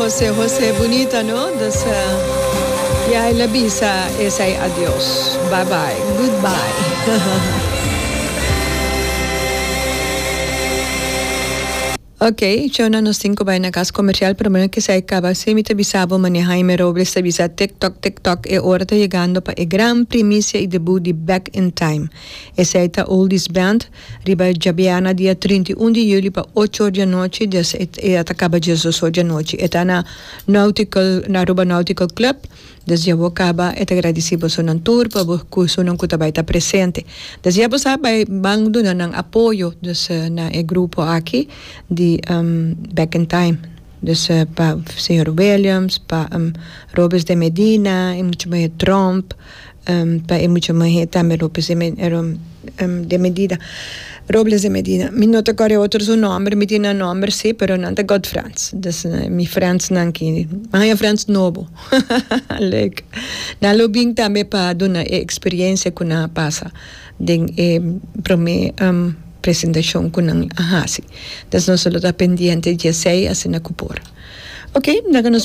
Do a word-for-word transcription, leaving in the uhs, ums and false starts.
Jose Jose, bunita, no? Dus, uh, ya el a bisa esey adios. Bye bye. Goodbye. Ok, Shona, nos tin cu bay na cas comercial, pero bueno, cu esey caba. Si mi ta bisa bo mane Jaime Robles ta bisa tik tok, tik tok, e ora ta yegando pa e gran primicia y debut di Back in Time. Esey ta Oldies Band, riba djabiana dia trinta i un di juli pa ocho or di anochi, des e, e ta caba diesdos or di anochi. E ta na Nautical, na Aruba Nautical Club. Des ya bo caba e ta gradici bosonan tur pa bo cu esunnan cu ta bay ta presente. Des ya bo sa bay ban duna nan apoyo dus na e grupo aki di Back in Time. Dus pa señor Williams, pa Robes de Medina, e mucha muhe Tromp, pa e mucha muhe tambe Lopez de de Medina, Robles de Medina. Mi no ta kòrda e otro su nòmber, mi tin nan nòmber sí, pero nan ta good friends. Dus mi friendsnan ki, mi haña friends nobo. Leuk. Nan lo bin tambe pa duna e experiencia ku nan a pasa den e promé presentashon ku nan a hasi. Dus nos lo ta pendiente di esei asina ku por. Oké, laga nos.